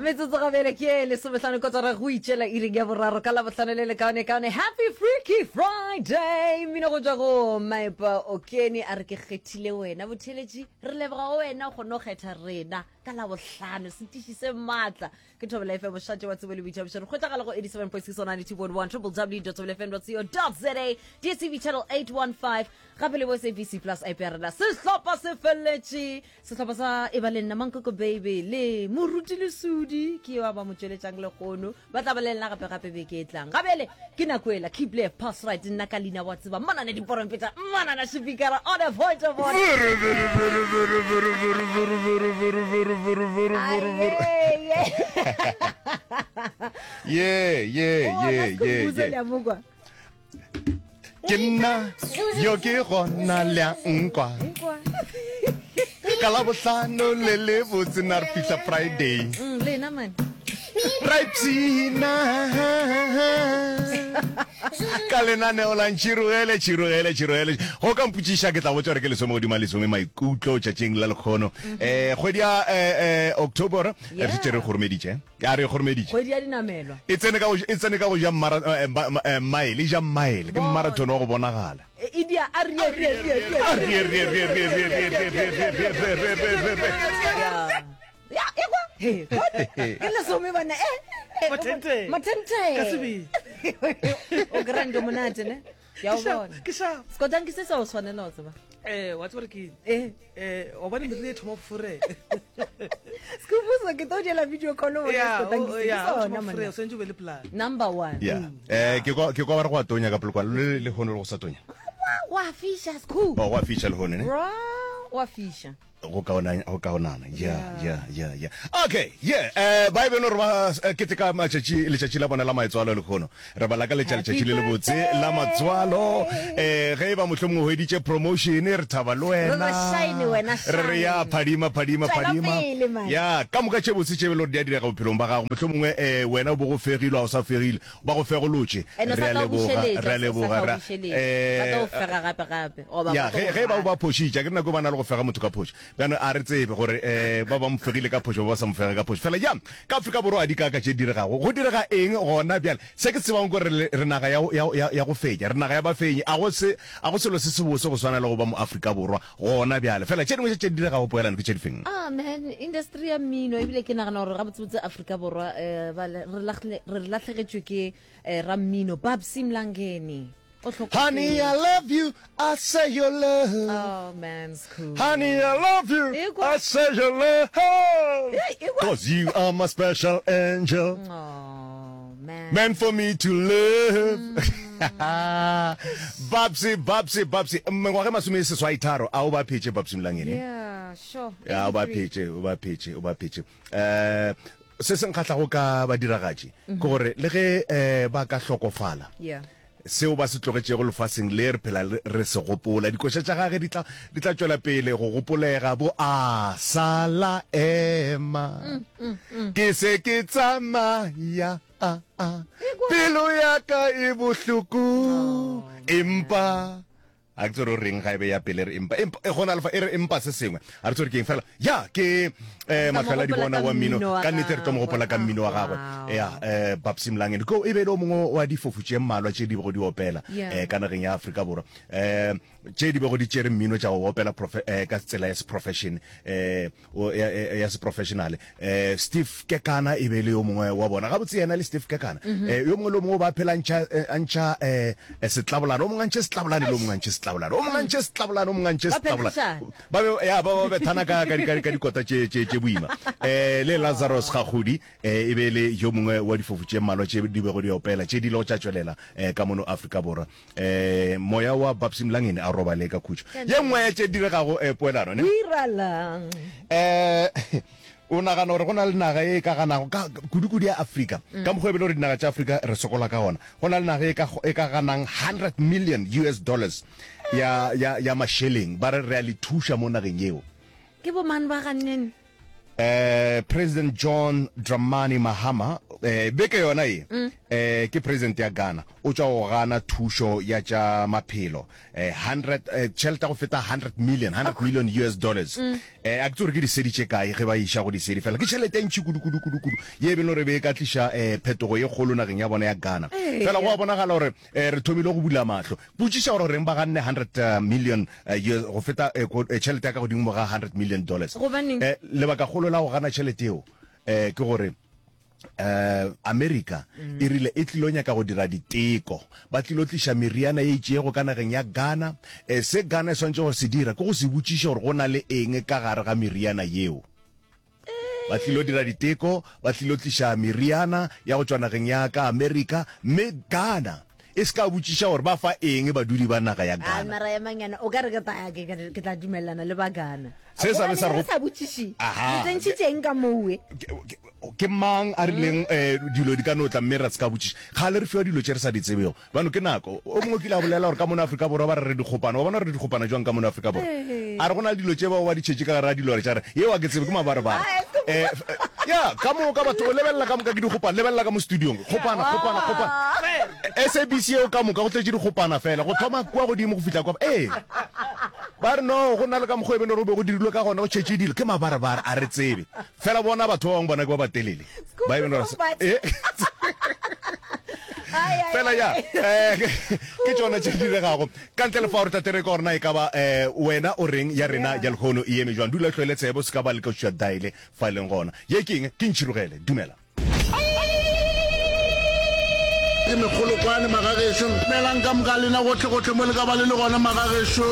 Metsotso gabele ke lesomehlano kotara go itšela iring ya boraro ka labohlano le lekaone kaone. Happy Freaky Friday. Mmino go tšwa go Maipa Okene a re ke kgethile wena botheletši re leboga go wena o kgone go kgetha rena ka labohlano setiši se maatla ke Thobela FM mošate wa tsebo le boithabišo re kgwetšagala go 87.6 92.1 www.thobelafm.co.za DSTV channel 815 gape le bo SABC plus app ya rena sehlopha se feleletše Sehlopha sa e ba le nna Mankoko Baby le Moruti Lesudi ke yo a ba mo tšweletšang lekgono. Ba tla ba le nna gape gape beke e tlang. Gabele ke nako ela keep left pass right nna ka leina wa tseba manane diporompeta manana sepikara on a point of order. Ye ye ye ye ye. Ke nna yo ke gona le a nkwa. Ka la bohlano le le botse na re fihla Friday. Mm, lena man. Ra ipshina ka lenaneo la Ntšhirogele, tšhirogele, tšhirogele. Go ka mpotšiša ke tla botša gore ke lesome godimo lesome maikutlo tšatšing la lekgono. Eh kgwedi ya eh, eh, October re šetše re kgoromeditše. Ya re kgoromeditše. Kgwedi ya dinamelwa. E tsene ka go e tsene ka go ja mmara eh, eh, mile, e ja mile. Ke marathon wa go bonagala. E dia a rie rie rie rie. A rie rie rie rie rie rie rie rie rie rie rie rie rie rie. Ya, e kwa. He, ke lesome bana eh. Mathente. Mathente. Ka sebele. O grand monate ne. Ke a o bona. Ke sharp. Skotanki ke se sa o tshwanela o tseba. Eh, wa tseba ke Eh. Eh, wa bona meriri e thoma go forela. Skhumbuzo ke tlo diela video call o bona Skotanki se ke sona monna. O sentse o be le plan. Number 1. Yeah. Eh ke kwa ke kwa ba re go a tonya ka polokwane le le hono le go sa tonya. Wa fisha Skhu. Oh, wa fisha le hono ne. Bra, wa fisha. Go kaona go kaonana. Yeah, yeah, yeah, yeah. Okay, yeah. Eh ba e beno re ba eh, keteka matšatši letšatši la bona la maetswalo lehono. Re ba lakaletša letšatši le lebotse la matswalo. Eh ge e ba mohlomongwe o hweditše promotion re thaba le wena. Re re shine wena, Re re ya shine. phadima phadima Tšwela phadima. pele, man. Ya ka moka tše botse tše e le gore di a direga bophelong ba gago. Mohlomongwe eh wena o bo go fegilwe a o sa fegile. Ba go fegolotše. And o Re sa a tla o leboga, bušeletša, re a o sa leboga. tla o Re a bušeletša. Ba tla o eh fega gape gape goba ya ba tlo ge go ge ba rata. ba phošitše, ke nako ba na le go fega motho ka phošo. Bjano a re tsebe gore um ba ba mo fegile ka phošo ba ba sa mo fega ka phošo. Fela ya ka Afrika Borwa a di kaka tše diregago. Go direga eng gona bjale? Se ke se tsebago ke gore re, re naga ya, ya, ya, ya go fenya. Re naga ya bafenyi. A go se, a go selo se sebose go swana le go ba Moafrika Borwa gona bjale. Fela tše dingwe tše tše di diregago poelano ke tše difeng? Ah man, industry ya mmino ebile ke nagana gore gabotsebotse Afrika Borwa eh, ba le- re lahle- re lahlegetšwe ke eh, rammino Babsy Mlangeni. O Honey, I hlokofetše. love you, I say your love. Oh man, cool. Honey, I love you, Ekwa. I say your love. Hey, ekwa. Cause you are my special angel. Oh man. Meant for me to live. Babsy, Babsy, Babsy. Mengwaga e masome seswai tharo a o ba phetše Babsy Mlangeni. Yeah, sure. Ya o ba 83. phetše, o ba phetše, o ba phetše. Eh se se nkgahlago ka badiragatši ke gore le ge eh ba ka hlokofala Yeah. Seo ba se tlogetšego lefaseng le re phela re se gopola. Dikoša tša gage di tla, di tla tšwela pele go gopolega. Bo a sala ema. Ke se ke tsamaya. A, a. Pelo ya ka e bohloko. Empa A ke tsere o reng ga e be ya pele re empa empa e gona lefa e re empa se sengwe a re tsere ke eng fela ya ke eh mahlwela di bona wa mmino ka nnete re tlo mo gopola ka mmino wa gagwe ya eh Babsy Mlangeni ko e be le o mongwe wa difofu tše mmalwa tše di bego di opela eh ka nageng ya Afrika Borwa eh tše di bego di tšere mmino tša go opela eh, ka tsela ya se-profession eh o, ya, ya, ya seprofessionale. Eh, Steve Kekana e be e le yo mongwe wa bona. Gabotse yena le Steve Kekana. Mm -hmm. eh, yo mongwe le yo mongwe o ba phela ntšha, eh, a ntšha eh, eh, setlabolane. O mongwe a ntšhe setlabolane le yo mongwe a ntšhe setlabolane. O mongwe a ntšhe setlabolane, o mongwe a ntšhe setlabolane. Ba be ya ba ba bethana ka ka ka, ka dikota tše tše tše boima. Eh, le Lazarus Gagudi eh, e be e le yo mongwe wa difofu tše mmalwa tše di bego di opela tše di ilego tša tšwelela eh, ka mono Afrika Borwa. Eh, moya wa Babsy Mlangeni a robale ka khutšo. Ye nngwe ya tše diregago eh, poelano ne. Diralang. Eh, o nagana gore go na le naga e ka ganago ka kudu-kudu ya Afrika mm. ka mokgwa e bele gore dinaga tša Afrika re sokola ka gona go na le naga e ka, e ka ganang 100 million US dollars ya, ya, ya mašeleng ba re re a le thuša mo nageng yeo ke bo mang ba ganneng Eh, President John Dramani Mahama. Eh, beke yona ye eh, ke president ya Ghana o tšwa go gana thušo ya tša maphelo eh, 100 eh, tšhelete ya go feta 100 million 100 million US dollars eh, a ke tsore ke disedi tše kae ge ba iša go disedi fela ke tšhelete e ntši kudu kudu kudu kudu ye e beng gore be e ka tliša eh, phetogo ye kgolo nageng ya bona ya Ghana fela go a bonagala gore eh, re thomile go bula mahlo potšiša gore reng ba ganne 100 million eh, US, go feta eh, ko- eh, tšhelete ya ka godimo ga 100 million dollars Gobaneng? eh, lebakagolo la go gana tšhelete eo eh, ke gore eh, Amerika e rile e tlilo nyaka go dira diteko, ba tlilo tliša meriana ye itšego ka nageng ya Ghana. Eh, se Ghana e swanetše go se dira ke go se botšiše gore go na le eng ka gare ga meriana yeo. Ba tlilo dira diteko, ba tlilo tliša meriana ya go tšwa nageng ya ka Amerika, mme Ghana e se ka botšiša gore ba fa eng badudi ba naga ya A Ghana. mara ya mangana o ka re ke tla ke ke- ke tla dumelelana le ba Ghana. Se sa be sa re Gobane go- re sa botšiše. Aha. Le tsentšhitšeng ka mowe. Ke- ke- ke mang a rileng um dilo di ka no tla mme ra se ka botšiša kgale re fiwa dilo tše re sa di tsebego bano ke nako o mongwe o kile a bolela gore ka mono Afrika Borwa ba re re dikgopana wa bona re dikgopana jwang ka mono Afrika Borwa a re go na le dilo tše bao ba di tšhetše ka gare ga dilore tša re yeo a ke tsebe ke mabarebare um ya ka moka batho o lebelela ka moka ke dikgopana lebelela ka mo studiong kgopana kgopana kgopana SABC yeo ka moka go tletše dikgopana fela go thoma kua godimo go fihla kwa ee ba re no go na le ka mokgwa e bene gore o be go dirilwe ka gona go tšhetše dilo ke mabarebare a re tsebe fela bona batho ba bangwe bona ke ba batelele ba e bene gore eh. fela ya eh, ke tšona tše di diregago ka ntle le fa gore tate re ka gore na e ka ba eh, wena o reng ya rena ya lehono e eme jwang dula tlhoele tsebo se ka ba le ka daile fa e leng gona ye ke eng ke ntšhirogele dumela Ke megolokwane magagešo. Dumelang ka moka lena gohle gohle mo le ka ba le le gona magagešo.